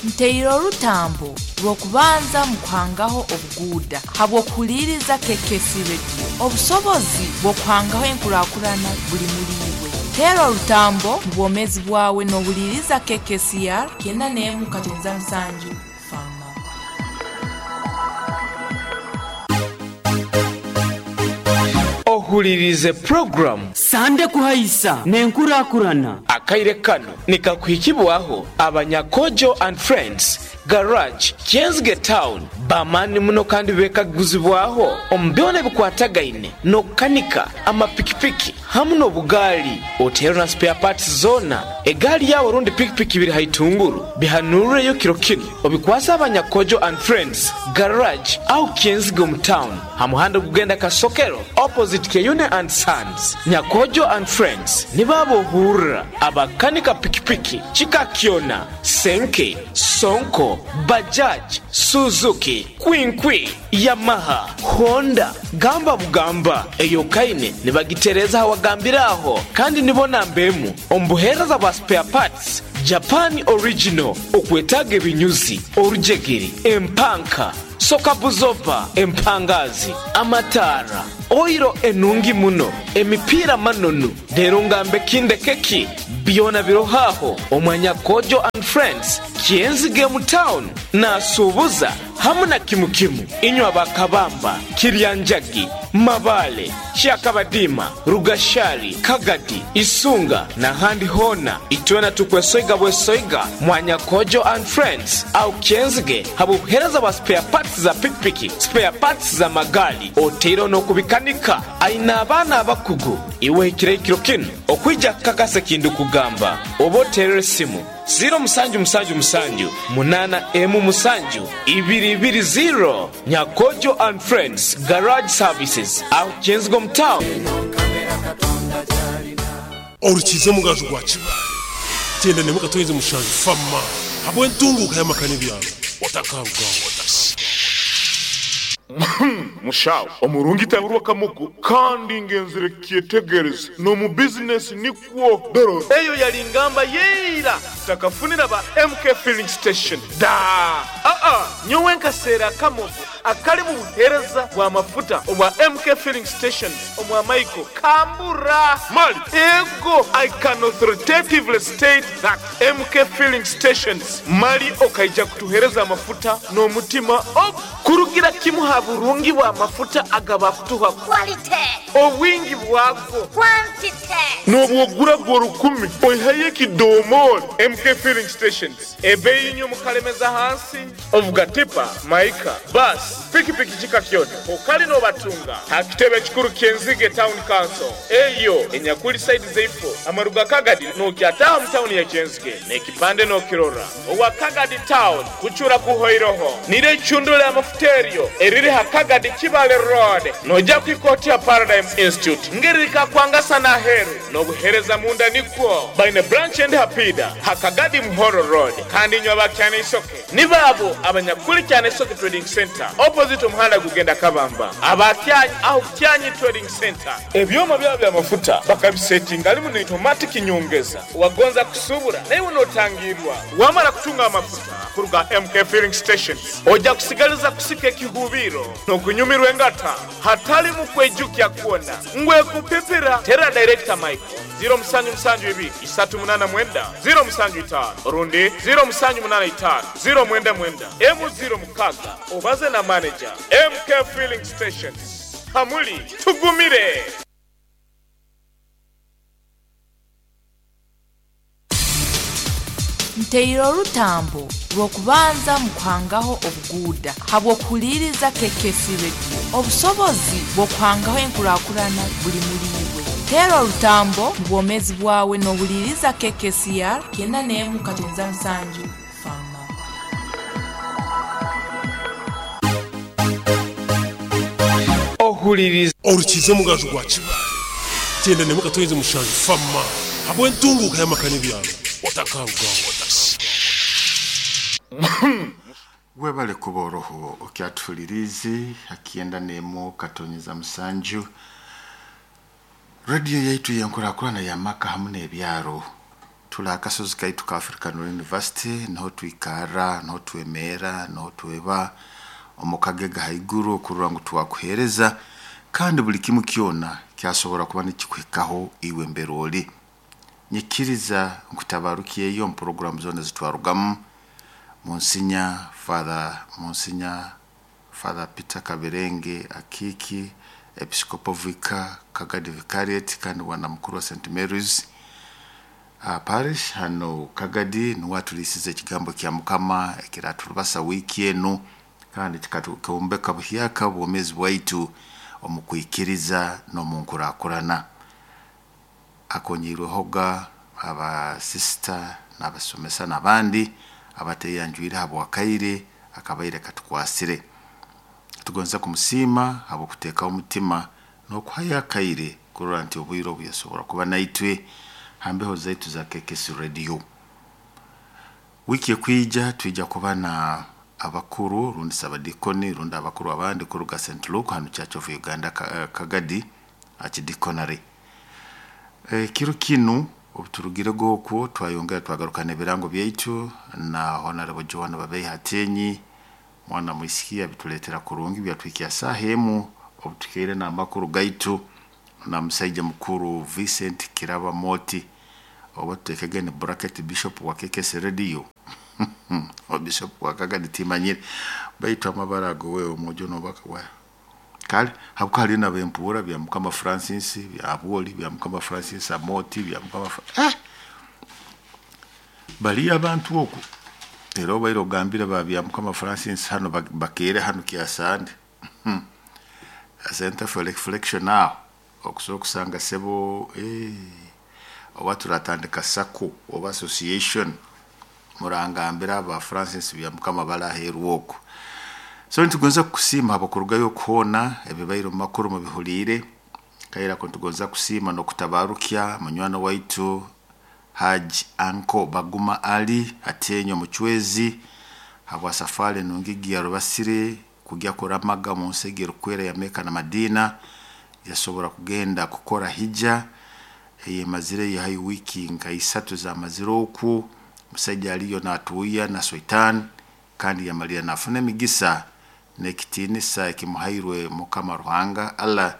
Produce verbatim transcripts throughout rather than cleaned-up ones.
Nteire orutambo lw'okubanza mu kuhangaho obuguuda habw'okuhuliiriza K K C Radio. Obusobozi bw'okuhangaho enkuraakurana buli muri iwe. Teera orutambo mu bwomeezi bwawe n'ohuliiriza K K C R kyenda n'emu katonza musanju Fama. Ohulirize program Sande kuhaisa nenkurakurana. Akaire kano nikakuhikibwaho abanyakojo and friends garage Kyenzige town bamani muno kandi bekaguzibwaho omubyona bikwatagaine nokukanika amapikipiki hamu n'obugaali otero na spare parts zona egaali yawe rundi pikipiki biri haitunguru bihanurureyo kiro kino obikwasa abanyakojo and friends garage au Kyenzige mu town hamuhanda gugenda Kasokero opposite Keyune and Sons. Nyakojo and friends nibabo hurra abakanika pikipiki chikakiona senke sonko Bajaj, Suzuki, Kwinkwi, Yamaha, Honda, gamba bugamba eyo kaine nibagitereza hawagambiraho kandi nibona mbemu ombuhereza bwa spare parts Japan original okwetaga ebinyuzi orujegere empanka soka buzoba empangazi amatara oiro enungi muno emipira manonu rero ngambe kinde keki byona birohaho omwanya Kojo and friends Kyenzige mu town nasubuza hamu na kimukimu inywa bakabamba Kiryanjagi Mabale Kyakabadima Rugashari Kagadi Isunga na handi hona itwena tukwesoiga bwesoiga mwanya Kojo and friends au Kyenzige habuhereza wa spare parts za pikipiki spare parts za magali otero no kubikanika aina abana abakugu iwe kirekiro kino okwija kakase kindu kugamba oboterere simu zero musanju musanju musanju munana emu musanju ibiri ibiri zero. Nyakojo and friends garage services au Kyenzige town. Orukize mugaju gwa Kibale tenda ne mukatoyeze mushanju fama habwe ntunguka y'amakani byaro otakaruga. Mushawo omurungi taburwa kamugu kandi ngenzire kyetegereza no mu business nikwo doro eyo yali ngamba yeira takafunira ba M K filling station da a a nyowe nkasera kamugu akali mu buhereza bwa mafuta obwa M K filling station omwa Michael Kambura Mali ego. I can authoritatively state that M K filling stations mali okaija kutuhereza mafuta no mutima op kurugira kimuha burungi wa mafuta agaba kutuha quality obwingi bwako quantity nobwogura gwo rukumi oihaye kidomori. M K filling stations ebeyi nyo mukalemeza hansi ovuga tipa maika bus pikipiki chikakyona okali no batunga hakitebe kikuru Kyenzige town council eyo enyakuli side zeifo amaruga Kagadi no kyataha mu town ya Kyenzige nekipande no kirora owa Kagadi town kuchura kuhoiroho nire chundule amafuterio eriri hakagadi Kibale road noja kwikoti ya Paradigm Institute ngerika kwangasa na heru nobuhereza munda nikwo by branch and hapida hakagadi Muhoro road kandi nywa bakyane isoke nibabo abanyakuli cyane Isoke trading center opposite umuhanda gugenda Kabamba abakyanyi aho Kyanyi trading center ebyoma byabo bya mafuta bakabisettinga alimu ni automatic nyongeza wagonza kusubura naye unotangirwa wamara kutunga amafuta kuruga M K filling stations oja kusigaliza kusika ekihubiro nokunyumirwa engata hatali mu kwejukya kuona ngwe kupipira tera director Michael zero musanju musanju ibiri isatu munana mwenda zero musanju itano rundi zero musanju munana itano zero mwenda mwenda emu zero mukaga obaze na manager M K filling stations hamuli tugumire. Nteire orutambo lw'okubanza mu kuhangaho obuguuda habw'okuhuliiriza K K C Radio. Obusobozi bw'okuhangaho enkuraakurana buli muri iwe. Teera orutambo mu bwomeezi bwawe n'ohuliiriza K K C R kyenda n'emu katonza musanju Fama. Ohuliriza Orukize mugaju gwa Kibale tenda ne mukatoyeze mushanju fama habwe ntunguka y'amakani byaro otakaruga. Webale kuboroho okyatulirizi akienda nemo katonyeza musanju radio yaitu yenkurakurana ya maka hamwe n'ebyaro Tuli akasozi kaitu ka African University, niho twikara, niho twemera, niho tweba omu kagega haiguru okurora ngu twakuheereza, kandi buli kimu kyona kyasobora kuba nikikuhikaho iwe mbere oli. Nyikiriza nkutabarukyeyo omu puroguramu zoona zitwarugamu. Monsinya Father, Monsinya Father Peter Kaberenge Akiki, Episcopal Vicar, Kagadi Vicariate, kandi wana mukuru wa Saint Mary's uh, Parish hano Kagadi, niwe atulisize ekigambo kya Mukama ekiraturubasa wiiki enu, kandi kikatukombeka buhyaka obwomeezi bwaitu omu kwikiriza n'omu nkurakurana. Akonyeirwehoga abasisita n'abasomesa n'abandi abateyanjwire habwakaire akabaire katukwasire. Tugonza kumusiima habw'okuteekaho omutima n'okuhayo akaire kurora nti obwire obu yasobora kuba naitwe hambeho zaitu za K K S Radio. Wiiki ekwija twija kuba na abakuru rundi sabadikoni rundi abakuru abandi kuruga Saint Luke hano Church of Uganda Kagadi Archdeaconry. Ekiro kinu obuturugirego okwo twayongera twagarukana ebirango byaitu na Honorable Joan Babeyi Hatenyi, mwana mwisikia bituletera kurungi byatwikia saha emu obutukeire n'amakuru gaitu na musaija mukuru Vincent Kiraba Moti, oba tutekege ni bracket bishop wa K K S Radio. O bishop wa Kagadi timanyire baitu amabara ago wewe omujo nobaka wa kale habuka hali na bempura bya Mukama Francis bya Aboli bya Mukama Francis Amoti bya Mukama Fra eh bali abantu oku era obaire ogambira ba bya Mukama Francis hano bakere hano kiasande Center for Reflection now okusobola okusanga sebo eh oba turatandika sako oba association murangambira aba Francis bya Mukama balaheru oku. So nitugonza kusiima abakurugayo kuhona ebibairo makuru mu bihulire kaira ko nitugonza kusiima no kutabarukya munywano waitu Haji Anko Baguma Ali Atenyo Muchwezi habwa safari nungigi ya Rubasire kujya kuramaga mu nsegero kwera ya Meka na Madina, yasobora kugenda kukora hija eyemazire yahayi wiki nka isatu za maziro oku musajja aliyo natuya na Sultan kandi yamalira nafuna emigisa nekitinisa ekimuhairwe Mukama Ruhanga Allah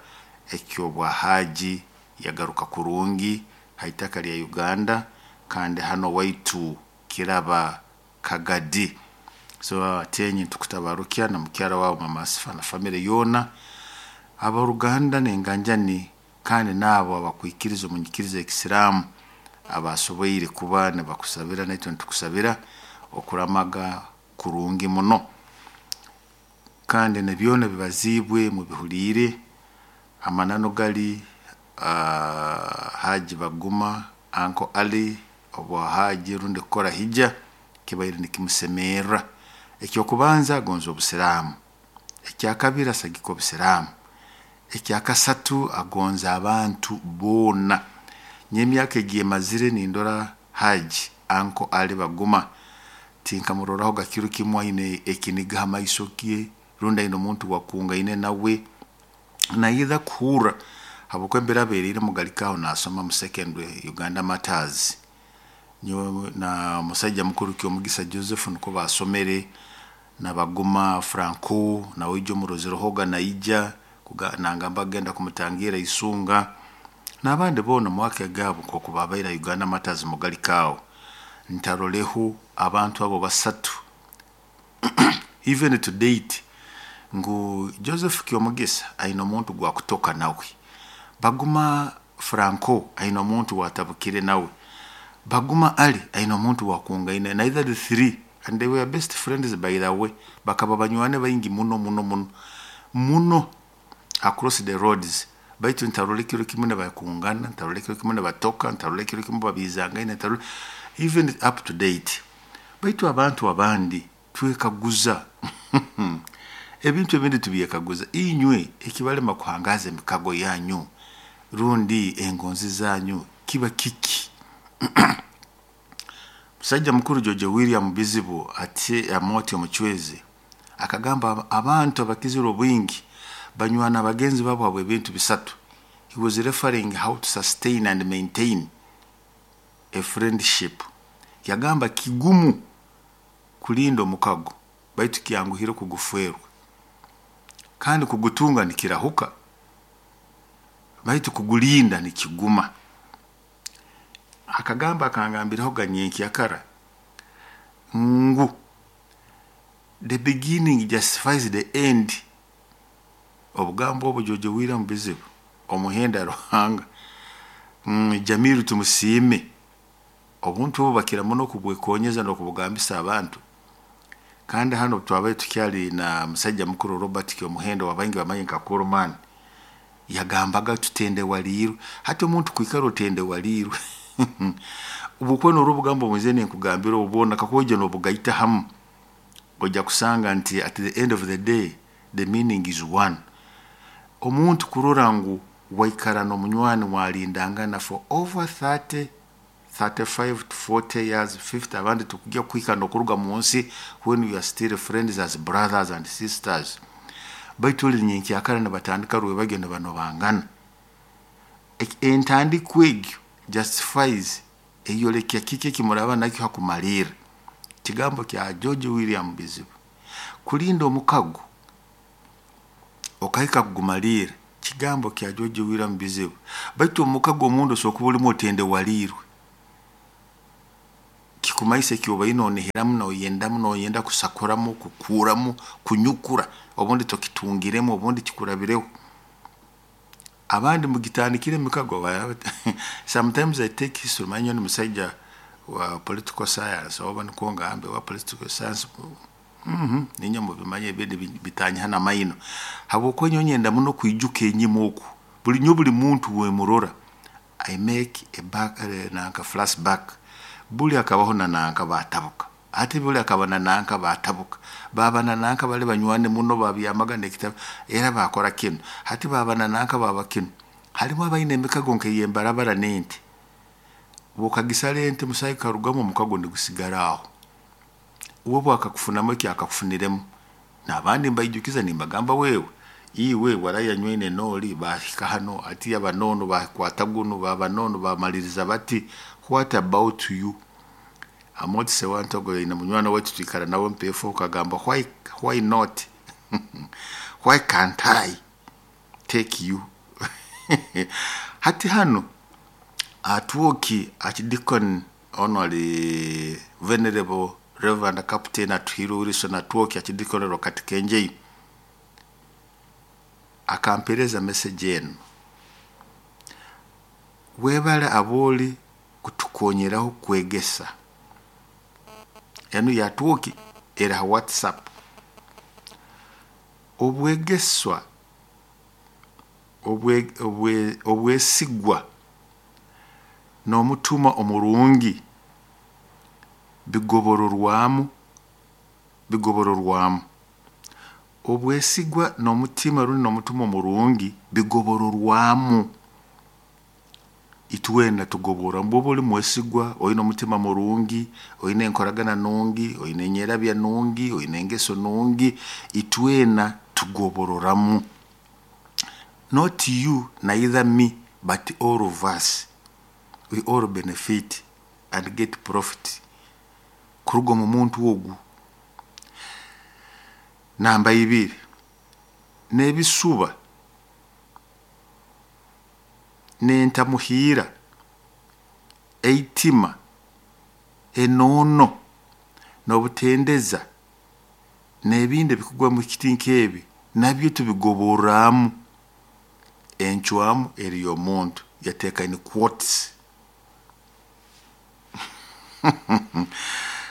ekyobwa haji yagaruka kurungi haitaka lya Uganda kandi hano waitu Kiraba Kagadi. So atenyi tukutabarukya na mukyara wao Mama Asifa na family yona abaruganda nenganjani kandi nabo abakwikiriza omunyikiriza ekisiramu abasoboire kuba ne bakusabira naitwe ntukusabira okuramaga kurungi muno kandi nebyona bibazibwe mu bihulire amanano gali uh, Haji Baguma Anko Ali obwa haji rundi kukora hija kibaire nikimusemera. Ekyokubanza agonza obusiramu, ekyakabiri asagika obusiramu, ekyakasatu agonza abantu boona. Nyemyaka egiye mazire nindora Haji Anko Ali Baguma tinkamuroraho gakiru kimwe aine ekiniga amaiso kie rundi aine omuntu wakungaine nawe naitha kuhura habwokuba embera abereire mugalikaho nasoma mu secondary Uganda Matters. Nyowe na musajja mukuru Kyomugisa Joseph niko basomere na Baguma Franco na wijo murozero hoga naija nangamba agenda kumutangira isunga n'abandi bona mwaka gabo ko kubabaira Uganda Matters mugalikaho ntaroleho abantu abo basatu even to date ngu Joseph Kyomugisa aina omuntu gwa kutoka nawe, Baguma Franco aina omuntu watabukire nawe, Baguma Ali aina omuntu wakungaine, neither the three and they were best friends by the way, bakaba banywane baingi muno muno muno muno across the roads. Baitu ntarole kiro kimwe nabakungana, ntarole kiro kimwe nabatoka, ntarole kiro kimwe babizangaine, ntarole even up to date. Baitu abantu abandi twekaguza ebintu ebindi tubyekaguza inywe ekibalema kuhangaza emikago yanyu rundi engonzi zanyu kiba kiki? Musajja mukuru George William Bizibu ati Amoti Omuchwezi akagamba abantu abakizira obwingi banywana abagenzi babo habwe ebintu bisatu. He was referring how to sustain and maintain a friendship. Yagamba kigumu kulinda omukago baitu kyanguhire kuguferwa, kandi kugutunga nikirahuka baitu kugulinda nikiguma. Akagamba akangambiraho ganyenkyakara ngu the beginning justifies the end. Obugambo obwo George William Bizibu omuhenda Ruhanga mm, Jamiru tumusiime obuntu obu bakira muno kubwekonyeza n'okubugambisa abantu. Kandi hano twabaye tukyali na musajja mukuru Robert Kyomuhendo wabaingi bamanyi nka Kurman, yagambaga tutende walirwe. Hati omuntu kwikara otende walirwe ubukwe n'orubugambo bwenze nenkugambira obubona kakwija n'obugaita hamu ojja kusanga nti at the end of the day the meaning is one. Omuntu kurora ngu waikara n'omunywani mwalindangana for over thirty, thirty-five to forty years, fifty, abandi tukujya kuhika n'okuruga mu nsi when we are still friends as brothers and sisters. Baitu oli nyenkyakara nibatandika rwebagyo nibanobangana. Entandikwa egyo justifies eyolekya kiki ekimuraba nakyo hakumalira. Kigambo kya George William Bizibu kulinda omukago okahika kugumalira, kigambo kya George William Bizibu. Baitu omukago omundu osokuba olimu otende walirwe kikumaise kyobaine onihiramu noyendamu noyenda kusakuramu kukuramu kunyukura, obundi tokitungiremu obundi kikurabireho. Abandi mugitandikire emikago. Sometimes I take history, manyo ni musajja wa political science oba niko ngambe wa political science mhm ninyo mubimanye ebindi bitanya maino habwokuba nyonyenda muno kwijuka enyima oku buli nyo buli muntu wemurora I make a back uh, nanka flashback. Buli akabaho na nanka batabuka, ate buli akaba na nanka batabuka, baba na nanka bali banywane muno babyamaga nekitabo era bakora kino, hati baba na nanka baba kino. Halimu abaine emikago nk'eyembarabara n'ente, bwokagisala ente musayi karugamu omukago nigusigara aho, uwo bwakakufunamu eki akakufuniremu. N'abandi mbaijukiza nimbagamba wewe iwe warayanywine noli bahika hano ati abanono bakwata guno babanono bamaliriza bati what about you. Amoti sewantogo ina munywana wetu twikara nawe mpefo ukagamba why, why not why can't I take you. Hati hano atuoki archdeacon honorary venerable reverend captain Atuhiro Wilson Atwoki archdeacon Rokati Kenjei akampereza message eno, webale aboli kutukonyeraho kwegesa. Eno yatwoki era WhatsApp. Obwegeswa obwe obwe obwesigwa n'omutuma omurungi bigobororwamu bigobororwamu obwesigwa n'omutima runi n'omutuma omurungi bigobororwamu. Itwena tugobora mbobo oli mwesigwa oyina omutima murungi oyina enkoragana nungi oyina enyerabya nungi oyina engeso nungi, itwena tugobororamu. Not you neither me but all of us, we all benefit and get profit kuruga mu muntu ogu. Namba ibiri n'ebisuba n'entamuhira eitima enono n'obutendeza n'ebindi bikugwa mu kiti nk'ebi nabyo tubigoboramu. Enchwamu eri omuntu yateeka in quotes.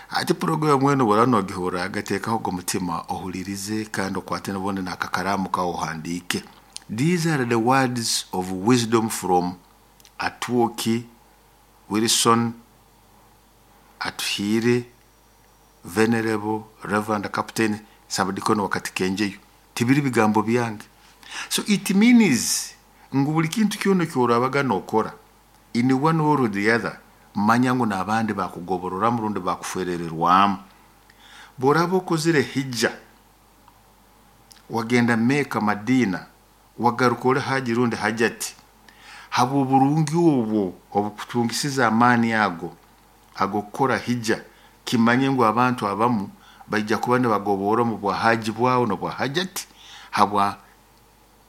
Ati program weno bora agateekaho go mutima ohulirize kandi okwate n'obundi n'akakaramu kaohandiike. These are the words of wisdom from Atwoki Wilson Atuhire Venerable Reverend Captain Sabadikono wakati Kenjeyo. Tibiri bigambo byange. So it means ngu buli kintu kyona kyorabaga nokora in one or the other, manya ngu n'abandi bakugoborora murundi bakuferererwamu. Boraba okozire hijja wagenda Mecca Madina wagaruka ori haji rundi hajati, Habw'oburungi obwo obukutungisiza amaani ago ag'okukora hija, kimanye ngu abantu abamu baija kuba nibagobora omu bwahaji bwawe n'obwa hajati habwa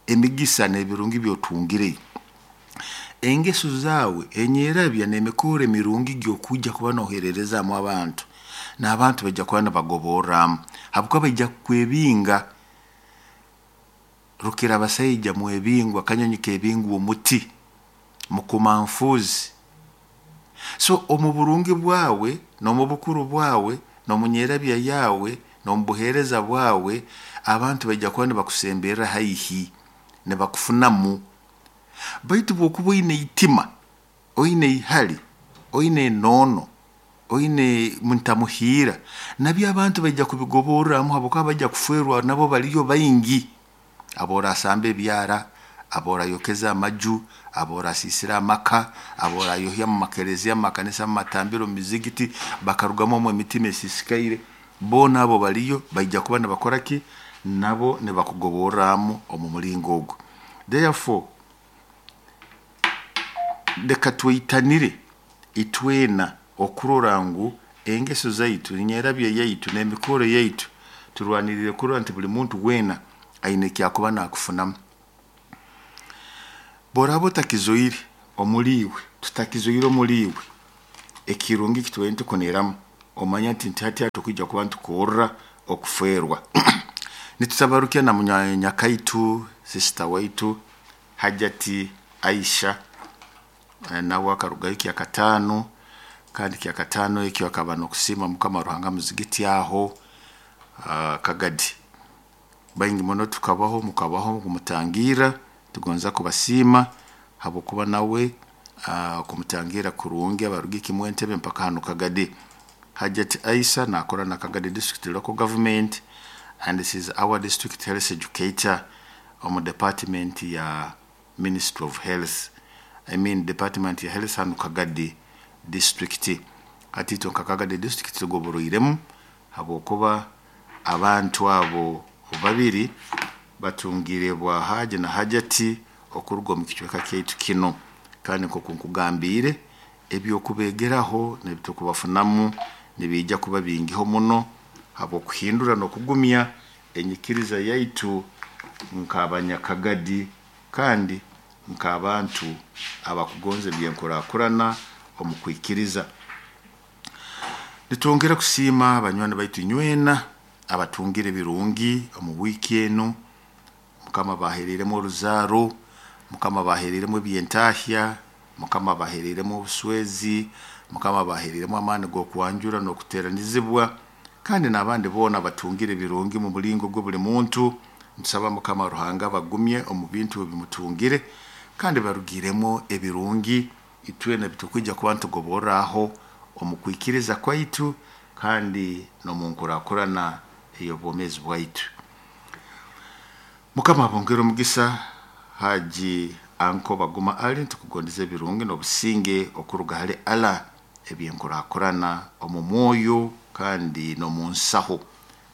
emigisa n'ebirungi by'otungire. Engeso zaawe, enyerabya n'emikoro emirungi gy'okwija kuba noohererezaamu abantu, n'abantu baija kuba nibagoborramu habwokuba baija kukwebinga. Rukira abasaija mwebingwa, akanyonyi keebingwa omuti, mukumanfuuzi. So omu burungi bwawe n'omu bukuru bwawe n'omu nyerabya yaawe n'omu buheereza bwawe, abantu baija kuba nibakusemberra haihi, nibakufunamu. Baitu bw'okuba oine itima, oine ihali, oine enoono, oine ntamuhiira, nabyo abantu baija kubigoborramu habwokuba baija kufeerwa nabo baliyo baingi aboorasamba ebyara, aboorayokeza amaju, aboorasiisira amaka, aboorayohya mu makereziya, mu makanisa, mu matambiro, mu mizigiti, bakarugamu omu emitima esiisikaire. Boona abo baliyo baija kuba nibakora ki? Nabo nibakugoborramu omu mulingo ogu. Therefore, leka tweitanire itwena okurora ngu engeso zaitu, enyerabya yaitu n'emikoro yaitu turwanirire kurora nti buli muntu weena aine eki akuba naakufunamu. Bw'oraaba otakizoire omuli iwe, tutakizoire omuli iwe, ekirungi eki tubaire nitukuniramu, omanye nti nti hati hatukwija kuba nitukorra okufeerwa. Nitutabarukya na munyakaitu, sister waitu Hajati Aisha, nawe akarugayo kyakataano, kandi kyakataano ekyo akaba n'okusiima Mukama Ruhanga muzigiti aho uh, Kagadi. Baingi muno tukabaho, mukabaho kumutangira, tugonza kubasiima habwokuba nawe uh, kumutangira kurungi abarugi kimwe Entebbe mpaka hano Kagadi. Hajati Aisha naakora na Kagadi District Local Government and this is our district health educator omu department ya Ministry of Health. I mean department ya health hanu Kagadi District. Hati itwe nka Kagadi District tugoboroiremu habwokuba abantu abo babiri batungire bwa Haji na Hajati okuruga omu kicweka kyaitu kino. Kandi nk'oku nkugambiire, eby'okubeegeraho n'ebitukubafunamu nibiija kuba bingiho muno habw'okuhindura n'okugumya enyikiriza yaitu nk'abanyakagadi kandi nk'abantu abakugonza eby'enkurakurana omu kwikiriza. Nitwongera kusiima banywani baitu inywena abatungire ebirungi omu wiiki enu. Mukama abaheereiremu oruzaaro, Mukama abaheereiremu eby'entahya, Mukama abaheereiremu obuswezi, Mukama abaheereiremu amaani g'okwanjura n'okuteeranizibwa, kandi n'abandi boona abatungire ebirungi mu mulingo gwe buli muntu. Ntusaba Mukama Ruhanga abagumye omu bintu ebimutungire kandi barugiremu ebirungi itwena bitukwija kuba nitugoborraho omu kwikiriza kwaitu kandi n'omu nkurakurana ey'obwomeezi bwaitu. Mukama abongere omugisa. Haji Anko Baguma Ali, ntukugondeza ebirungi n'obusinge okuruga hali Allah eby'enkurakurana omu mwoyo kandi n'omu nsaho.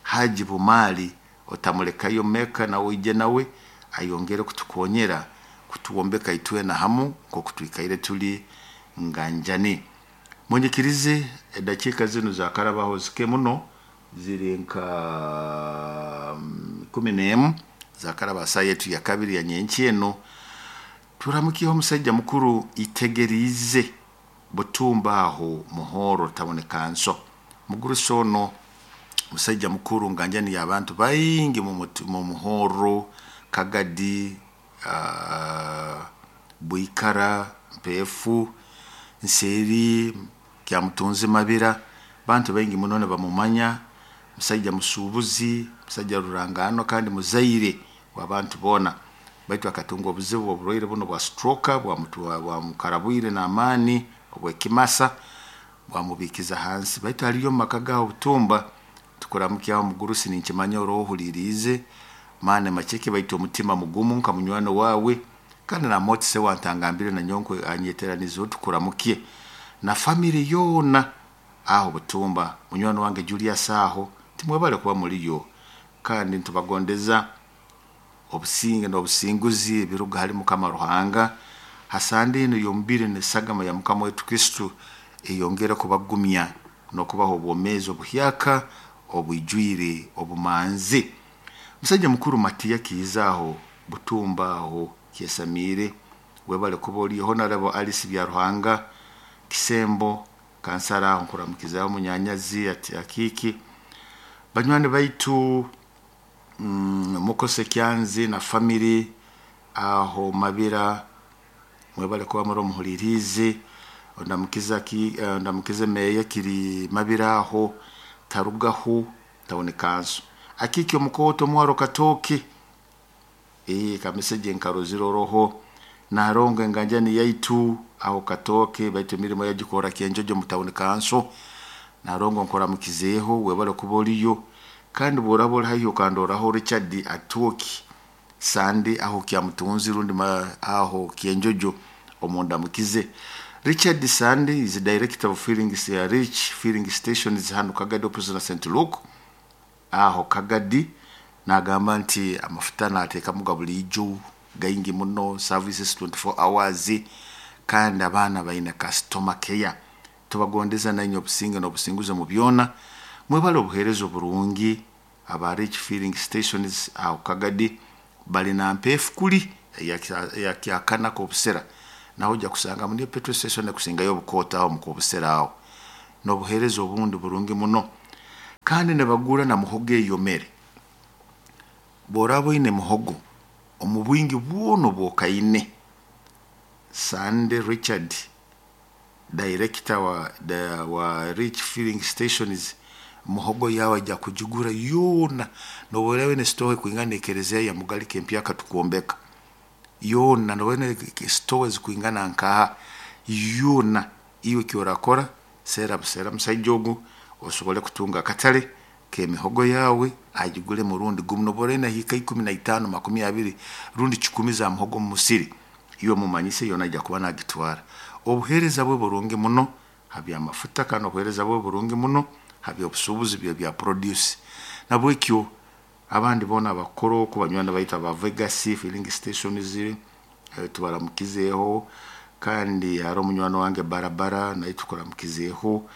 Haji Bumali otamulekayo Meka nawe oije nawe ayongere kutukonyera kutuwombeka itwena hamu nk'oku twikaire tuli nganjani. Munyikirize edakiika zinu zakarabaho zike muno, ziri nka kumi n'emu zakaraba saa yetu ya kabiri ya nyenki eno. Turamukiyeho omusajja mukuru itegeriize Butumba aho Muhoro tawuni kanso. Mugurusi ono musajja mukuru nganjani y'abantu baingi mu Muhoro, Kagadi, uh, Bwikara, Mpeefu, Nseeri, Kyamutunzi Mabira, bantu baingi muno nibamumanya. Musajja musuubuzi, musajja rurangano kandi muzaire w'abantu boona. Baitu akatunga obuzibu oburwaire buno bwa stroke bwamukarabwire n'amaani obw'ekimasa bwamubiikiza hansi. Baitu haliyo omu maka gaaho Butumba, tukuramukyaho mugurusi, ninkimanya oroohuliriize maani maceke baitu omutima mugumu nka munywani waawe, kandi namotise wantangambire na nyonkwe anyeteranizeho tukuramukye na famire yoona aho Butumba. Munywani wange Julius aho timwebale kuba muliyo, kandi ntubagondeza obusinge n'obusinguzi ebiruga hali Mukama Ruhanga Hasande eno y'omubiri n'esagama ya Mukama waitu Kristo eyongere kubagumya n'okubaha obwomeezi obuhyaka obwijwire obumanzi. Musajja mukuru Matiya Kiizaaho Butumba aho Kyesamiire, webale kuba oli Honorable Alice Byaruhanga Kisembo kansara aho nkuramukizaho munyanyazi ati akiki banywani baitu mm, Mukose Kyanzi na family aho Mabira, mwebale kuba muri omuhulirizi. Ondamukiza ki eh, ondamukize meya kiri Mabira aho tarugaho tawuni kanso akiki omukoto mwaro katoki eh kameseje nkaroziro roho narongo enganjani yaitu aho katoke baitu emirimo yagikora kenjojo mu tawuni kanso narongo nkoramukizeho webale kuba oliyo. Kandi bworaba ori haihi okandoraho Richard Atoki Sande aho kyamutunzi rundi ma aho Kyenjojo omundamukize. Richard Sande is the director of filling rich filling stations hano Kagadi opposite na Saint Luke aho Kagadi. Nagamba nti amafuta nateekamu ga bulijo gaingi muno, services twenty-four hours, kandi abaana baine customer care. Tubagondeza nanye obusinge n'obusinguzi mu byona. Mwebale obuheereza oburungi aba rich filling stations aho Kagadi balina mpefu kuli eyakyakana kobusera naho ojja kusanga muri petrol station ekusingayo obukoota aho mu kobusera aho n'obuheereza obundi burungi muno. Kandi ne bagura na muhogo eyomere bworaba oine muhogo omu bwingi bwono bwokaine. Sande Richard director wa, the, wa rich filling stations muhogo yawe ajja kugigura yoona noborewe ne store kuingana ekereziya ya Mugalike empyaka tukuombeka yoona nobone stores kuingana nkaha yoona. Iwe kyorakora sera busera musajja ogu osobole kutunga akatale k'emihogo yawe agigule murundi gumu nobore na hika ikumi na itaano makumi abiri rundi kikumi za muhogo mu musiri iwe mumanyise yona ajja kuba nagitwara. Obuheereza bwe burungi muno habya amafuta kandi obuheereza bwe burungi muno habya obusuubuzi bye bya produce. Nabwekyo abandi bona abakoro ku banywana bayita ba Vegas filling stations eh, tubaramukizeho. Kandi hari omunywani wange barabara naye tukuramukizeho.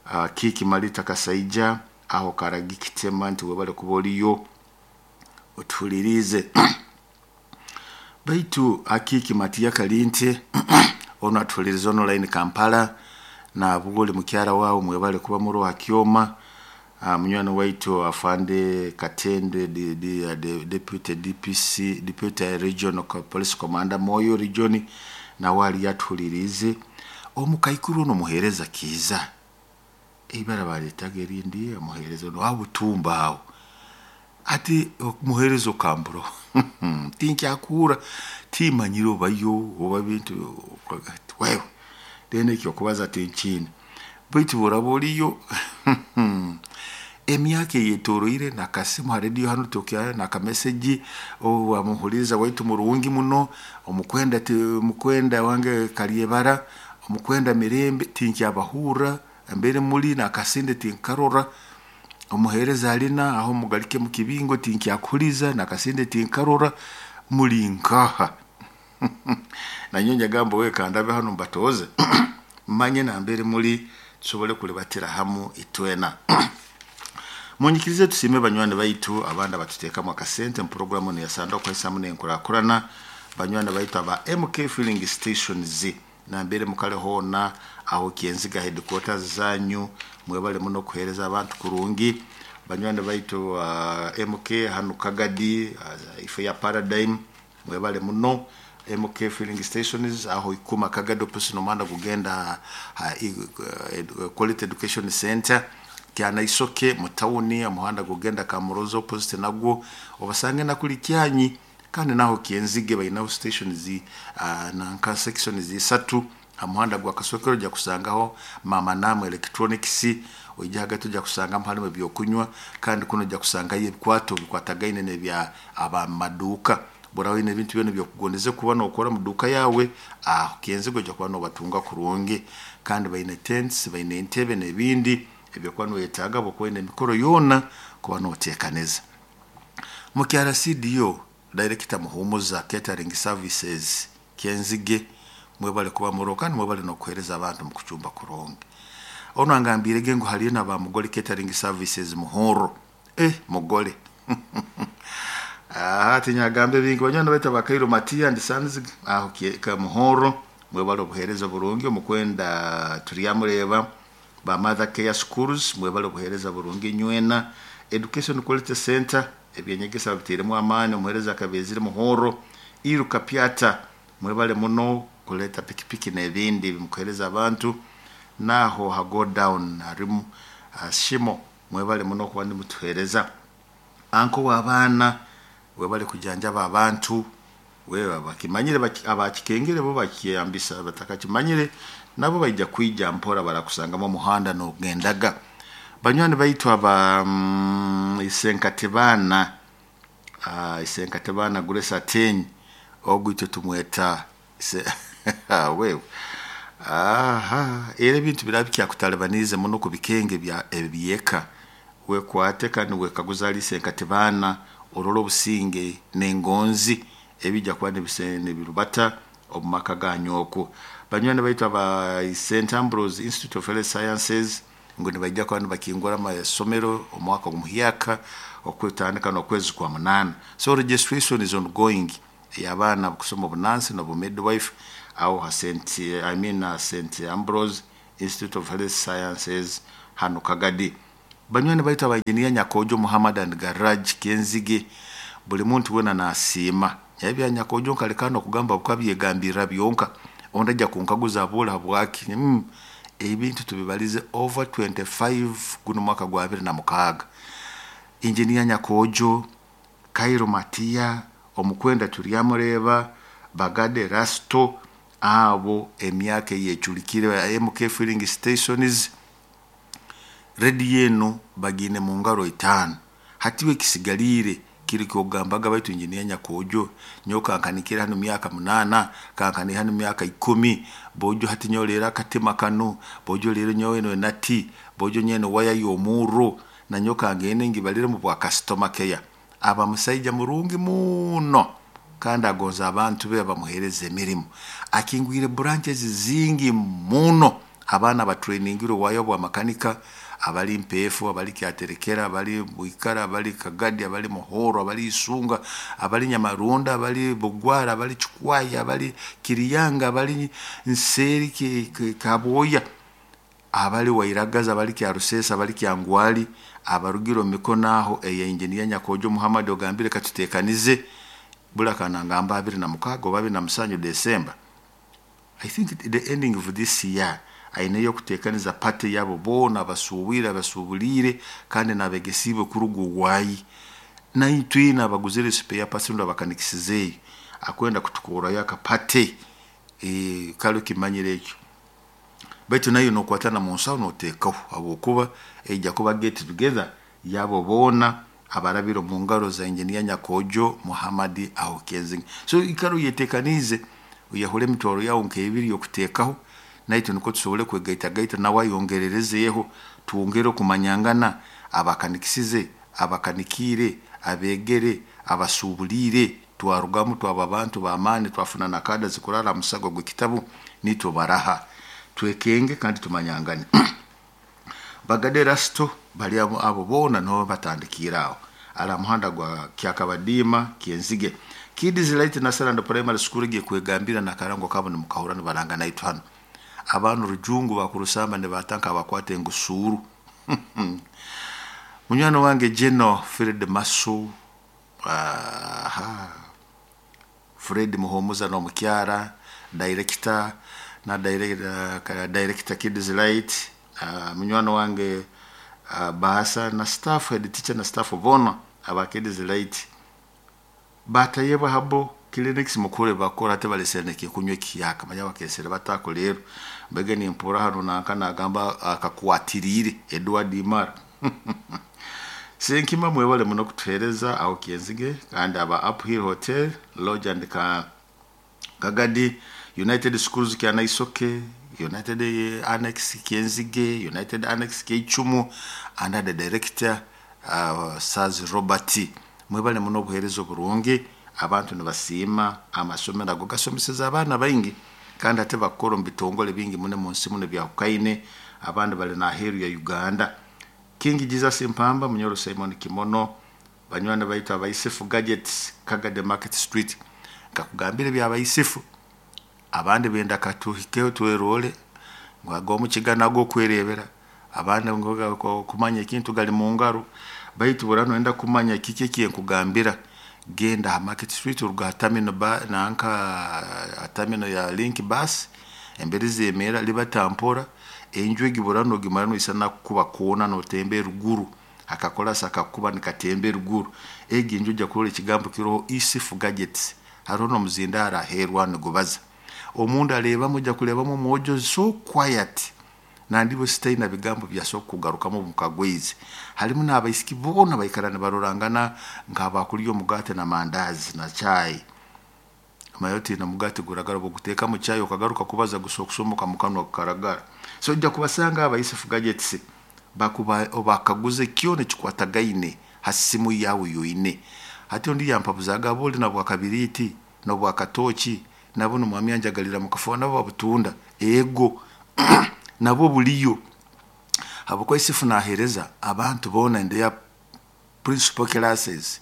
Uh, Kiki Malita Kasaija aho Karagi Kitema nti webale kuba oliyo otuhulirize. Baitu akiki Matiya Kalinte ono atuhulirize online Kampala na bugoli mukyara wawe mwebale kuba muri Hakyoma. Uh, munywani waitu afande Katende di, di, di, deputy D P C deputy regional police commander Moyo region na wali yatuhulirize. Omukaikuru ono muhereza Kiza ibara baretaga erindi omuhereza no abutumba aho ati muhereza okamburo tinkyakura timanyiro bayo oba bintu wewe dene ekyo kubaza tinchini baitu boraba oliyo emyaka eyetoroire nakasimu ha radio hano tokya nakameseji owamuhuliriza waitu murungi muno omukwenda mukwenda wange Kalyebara omukwenda Mirembe tinkyabahura mbere muri nakasinde tinkarora omuhereza alina aho mugalike mu kibingo tinkyakuliza nakasinde tinkarora muri nkaha nanyonya gambo we kandabe hano mbatoze manye na mbere muri tusobole kulibatira hamu itwena. Munyikirize tusime banywani baitu abanda batuteekamu akasente mu programu ne yasanda okwesamu n'enkurakurana banywani baitu aba M K filling stations na mbere mukale hona aho Kyenziga headquarters zanyu mwebale muno kuhereza abantu kurungi. Banywani baitu uh, M K hano Kagadi uh, ife ya Paradigm mwebale muno. M K filling stations aho ikuma Kagadi opposite nomanda kugenda uh, Quality Education Center kyana isoke mutawuni amuhanda gugenda Kamurozo opposite nagwo obasange nakuli kyanyi. Kandi naho Kyenzige bayinaho stations uh, nanka section zisatu amuhanda gwa Kasokero ja kusangaho Mama Namu Electronics ojja hagati ojja kusanga halimu ebyokunywa kandi kuno ojja kusangayo ebikwato bikwatagaine n'ebya abamaduuka bora wine ebintu byona byokugondeze kuba nokora mu duka yawe aho Kyenzige ojja kuba nobatunga kurungi. Kandi bayine tents bayine entebe n'ebindi ebyokuba noyetaaga bokwine emikoro yona kuba noteekaneza. Mu K R C D O Director Muhumuza Catering Services Kyenzige Mwebale kuba muro kandi mwebale n'okuheereza abantu mu kucumba kurungi. Ono angambire ngu haliyo n'aba Mugole Catering Services Muhoro. Eh, Mugole. Ah, tinyagambe bingi banywani baitu abakairo Matia and Sons aho ka Muhoro. Mwebale obuheereza burungi omukwenda turyamureba ba Mother Care Schools mwebale obuheereza burungi nywena Education Quality Center ebyenyegesa biteremu amaani omuheereza akabezire Muhoro Iruka Piata mwebale muno kuleta pikipiki n'ebindi bimukuhereza abantu naho ha go down harimu uh, shimo mwebale muno kuba nimutuhereza anko w'abaana webale kujanjaba abantu wewe bakimanyire abakikengere bo bakiyambisa batakakimanyire nabo baija kwija mpora barakusangamo muhanda n'ogendaga. Banywani baitu aba mm, Isenkatebana uh, Isenkatebana Grace Ateny ogwito tumweta ise wewe aha era ebintu birabikya kutalibanize muno ku bikenge bya ebyeka wekwate kandi wekaguza ali Isenkatebana ororo obusinge n'engonzi ebijja kuba nebisene birubata omumaka ganyu. Banywani baitu aba Saint Ambrose Institute of Health Sciences ngo nibajja kuba nibakingura amasomero omwaka omuhyaka okwetandika n'okwezi kwa munana. So registration is ongoing y'abaana kusoma obunansi n'obu midwife aho ha Saint I mean uh, Saint Ambrose Institute of Health Sciences hano Kagadi. Banywani baitu aba engineer Nyakojo Muhammad and Garage Kenzige buli muntu wena nasiima ebya Nyakojo nkalekano okugamba bukabyegambirira byonka ondajja kunkaguza abula bwaki mm, ebintu tubibalize over twenty-five guno mwaka gwa abiri na mukaaga. Engineer Nyakojo Kairo Matia omukwenda turyamureba Bagade Rasto abo emyaka yechulikire M K filling stations redi yenu bagine mu ngaro itano hatiwe kisigalire kiri kyogambaga baitu engineer Nyakojo nyoka nkanikira hano myaka munana kankani hano myaka ikumi bojo hati nyolera katima kanu bojo lero nyowe no nati bojo nyene waya yomuro na nyoka ngene ngibalire mu bwa customer care. Aba musaija murungi muno kandi agonza abantu be bamuhereza emirimu akingwire branches zingi muno abaana batrainingire wayo bwa makanika abali mpefu abali kyaterekera abali Bwikara abali Kagadi abali Muhoro abali Isunga abali Nyamarunda abali Bugwara abali Chikwaya abali Kiriyanga abali Nseri Kaboya abali Wairagaza abali Kyarusesa abali Kyangwali abarugiro mikono aho eya engineer Nyakojo Muhammad ogambire katutekanize bula kanangamba abiri na mukago babi na musanyu December. I think the ending of this year aineyo kutekaniza party yabo bona basuwira basubulire kandi nabegesibe kurugu wayi na itwina abaguzire spare parts ndo bakanikisize akwenda kutukura yaka party e kalo kimanyire ekyo baitu nayo nokwatana mu nsawo notekaho abokuba ejja kuba get together yabo bona abarabiro mu ngaro za engineer Nyakojo Muhammad Aho Kenzing. So ikaro yetekanize uyahule mitwaro yawo nkebiri yokutekaho naito niko tusobole kwegaita gaita nawe ayongererezeeho tuwongere okumanyangana abakanikisize abakanikire abegere abasubulire twarugamu twaba abantu b'amaani twafuna nakada zikurara musago gw'ekitabu nitwo baraha twekenge kandi tumanyangane. Bagade Rasto bali abo, abo bona no batandikira aho ala muhanda gwa Kyakabadima Kyenzige Kids Light National Primary School giye kwegambira na karango kabo ni mukahura baranga naitwa hano abantu rujungu bakurusamba ne batanka abakwate ngusuru. Munywano wange Jeno Fred Masu aha Fred Muhomuza no mukyara director na director, director Kids Light uh, munywano wange uh, Bahasa na staff head teacher na staff bona aba Kids Light batayebwa habo clinics mukure bakora ate baleseneke kunywa kiyaka manya bakesere batako lero mbege ni mpura hano nanka nagamba akakwatirire Edward Imara. Senkima mwebale muno kutuhereza aho Kyenzige kandi aba Uphill Hotel Lodge and ka Kagadi United Schools kya Naisoke United Annex Kyenzige United Annex Keichumu under the director uh, Saz Robert mwebale muno buherezo burungi abantu nibasiima amasomero ago gasomeseza abaana baingi. Kandi ate bakukora omu bitongole bingi muno mu nsi muno byahukaine, abandi bali n'aheeru ya Uganda. King Jesus Mpamba, Munyoro Simon Kimono, banywani baitu abaisifu Gadgets, Kagade Market Street. Nkakugambira eby'abaisifu, abandi benda katuhikeho twerole ngu ag'omukiga nago kwerebera, abandi ngu kumanya ekintu gali mu ngaro, baitu bura noyenda kumanya kiki ekyenkugambira, genda ha Market Street oruga ha terminal ba nanka ha terminal ya Link Bus, emberi zemeera libata mpora, enju egi bura nogimara noisana kukuba koona notemba eruguru, akakolasi akakuba nikatemba eruguru, egi enju ojja kurora ekigambo kiroho Isifu Gadgets, hariho n'omuzindaaro aheeru nigubaza. Omundu areebamu ojja kureebamu omwojo so quiet, nandi sitaina bigambo byasobola kugarukamu mukagweizi. Harimu n'abaisiki boona baikara nibarorangana nk'abakurya omugaate na mandazi na chai. Omanya oti n'omugaate guragara obu chai okagaruka kubaza gusobola kusomoka mu kanwa gukaragara. So ojja kubasanga abaisifu Gadgets bakuba obakaguze kyona ekikwatagaine ha simu yawe yoine. Hati ondi yampabuzaga aboli na bwakabiriti n'obwakatooki nabo nomwami anjagalira mu kafo nabo babutunda ego nabo buliyo. Habwokuba Isifu naheereza abantu boona in their principal classes,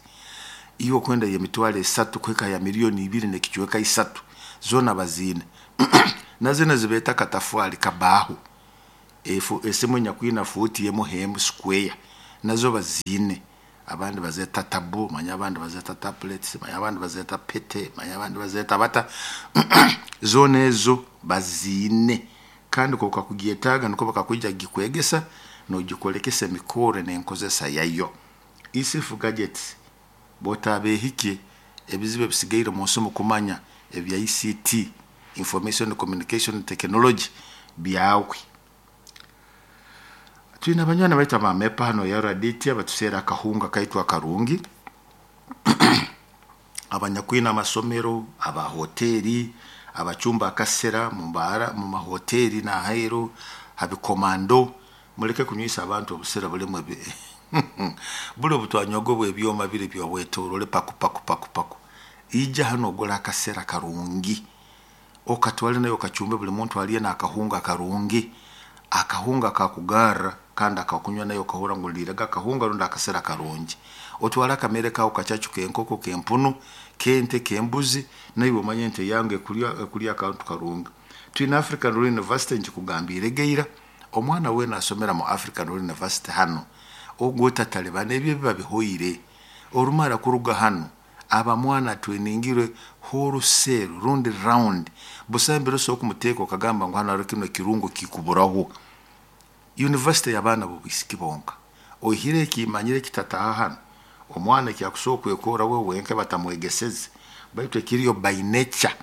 iyo okwenda y'emitwaro esatu kuhika ya miliyoni ibiri n'ekicweka isatu zoona baziine. Na zino zibeeta katafwali kabaho, efu esimu enyakwina fuuti emu hemu square nazo baziine. Abandi bazeeta tabu, manya abandi bazeeta tablets, manya abandi bazeeta pete, manya abandi bazeeta bata zoona ezo baziine. Kandi ko kakugyetaaga niko bakakwija gikwegesa nogikolekesa emikoro n'enkozesa yayo. Isifu Gadgets bw'otabeehike ebizibu ebisigaire mu nsi mukumanya ebya I C T, Information Communication Technology, byawe. Twine abanywani baitu abamepa hano ya R D T abatuseera akahunga kaitu akarungi, abanyakwina amasomero, abahoteri, abachumba akasera mu mbara, mu mahoteri n'aheeru, habikomando, muleke kunywisa abantu obusera bulimu ebi buli obutwanyogo bw'ebyoma biri byobwetorole paku paku paku paku. Ija hano ogula akasera karungi, okatwale nayo okachumbe buli muntu aliye n'akahunga karungi, akahunga kakugarra kandi akakunywa nayo okahura ngu liraga akahunga rundi akasera karungi. Otwala akamere kawe kachachu k'enkoko k'empunu k'ente k'embuzi, naiwe omanye ente yange ekulya ekulya akantu karungi. Twine African Royal University nkikugambire geira, omwana weena asomera mu African Royal University hano ogwo tatalibana ebyo biba bihoire. Orumara kuruga hano aba mwana twiningirwe wholesale rundi round, busambiro so okumuteeka okagamba ngu hano hariho kino kirungo kikuburaho. University y'abaana b'obwisiki bonka oihire ekimanyire kitataha hano, omwana ekyakusobola kwekora we wenka batamwegeseze, baitu ekiriyo by nature.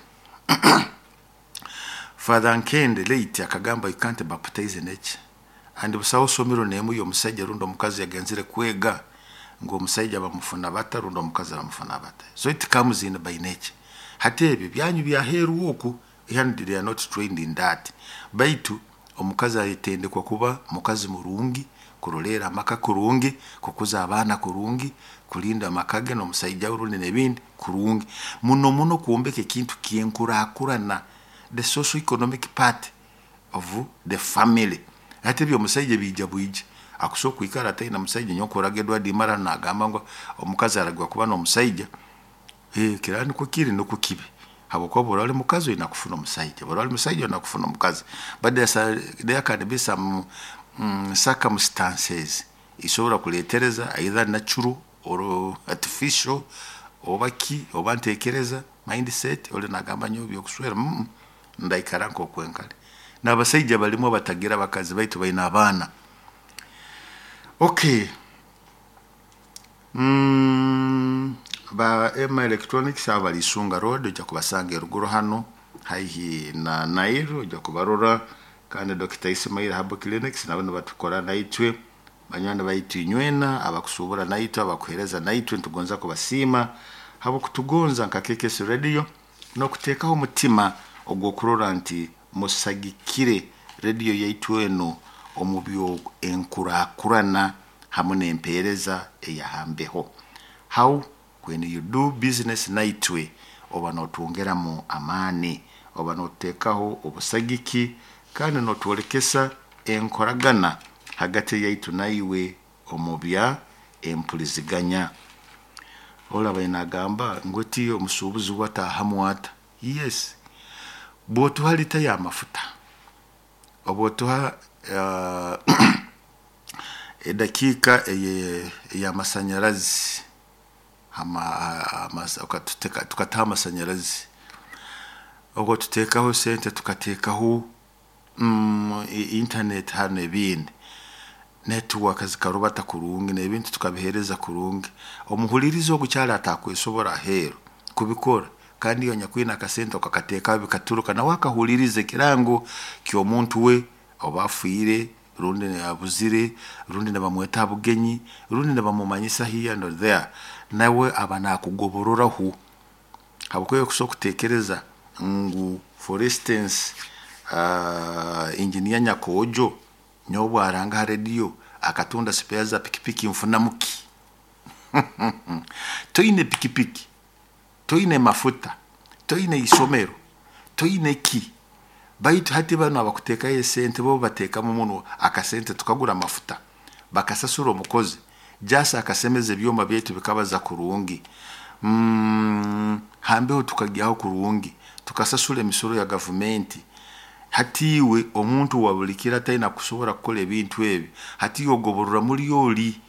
Father Nkende late akagamba you can't baptize nature. And busaho somero nemu y'omusajja rundi omukazi yagenzire kwega ngu omusajja bamufuna bata rundi omukazi bamufuna bata. So it comes in by nature. Hati ebyo byanyu byaheeru oku, yani they are not trained in that. Baitu omukazi ayetendekwa kuba mukazi murungi, kurolera amaka kurungi, kukuza abaana kurungi, kulinda amaka ge n'omusajja rundi n'ebindi kurungi. Muno muno kwombeka ekintu kyenkurakurana, the socio economic part of the family. Ate ebyo omusajja bijja bwija. Akusobola kwikara ataina musajja nyokoraga Edward Mara nagamba ngu omukazi aragwa kuba n'omusajja. Eh, kira niko kiri niko kibi. Habwokuba bw'oba oli mukazi olina kufuna omusajja, bw'oba oli musajja olina kufuna omukazi. But there can be some mm, circumstances isobola kuleetereza either natural or artificial oba ki oba ntekereza mindset oli nagamba nyo byokuswera mm, ndaikara nk'okwenkale. N'abasajja balimu abatagira abakazi baitu balina abaana. Okay. Mm, ba Emma Electronics abo bali Isunga Road, ojja kubasanga eruguru hano haihi na Nile, ojja kubarora. Kandi Doctor Ismail Herbal Clinics nabo nibatukora naitwe, banywani baitu inywena abakusubura naitwe, abakuhereza naitwe, nitugonza kubasiima habwokutugonza nka K K S Radio n'okuteekaho omutima ogw'okurora nti musagikire radio yaitu eno omu byo enkurakurana hamwe n'empeereza eyahambeho. How when you do business naitwe oba notwongeramu amaani Oba notuteekaho obusagiki kandi notwolekesa enkoragana hagati yaitu naiwe omu bya empuliziganya. Olaba nagamba ngu oti omusuubuzi wataahamu ata? Yes, bw'otuha lita y'amafuta oba otuha uh, edakiika eye- ey'amasanyarazi, ama- amasa- okatuteka- tukataha amasanyarazi, obwo tuteekaho sente, tukateekaho mm, i- internet hano, ebindi network zikarubata kurungi n'ebintu tukabiheereza kurungi. Omuhulirizi ogu kyali atakwesobora aheeru kubikora, kandi iyo nyakwine akasente okakateekaho bikaturuka, nawe akahuliriza ekirango ky'omuntu we oba afiire rundi abuzire rundi nibamweta ha bugenyi rundi nibamumanyisa here and there, nawe aba nakugobororaho. Habwokuba kusobola kutekereza ngu, for instance, uh, engineer Nyakojo nyowe bwaranga ha radio akatunda spare za pikipiki, nfunamu ki? Toine pikipiki, toine mafuta, toine isomero, toine ki. Baitu hati bano abakuteekayo esente bo bateekamu muno akasente, tukagura amafuta, bakasasura omukozi jasi akasemeza ebyoma byaitu bikabaza kurungi, mm, hambeho tukagyaho kurungi, tukasasura emisoro ya gavumenti. Hati iwe omuntu wa buli kiro atalina kusobora kukora ebintu ebi, hati ogoborora muri oli.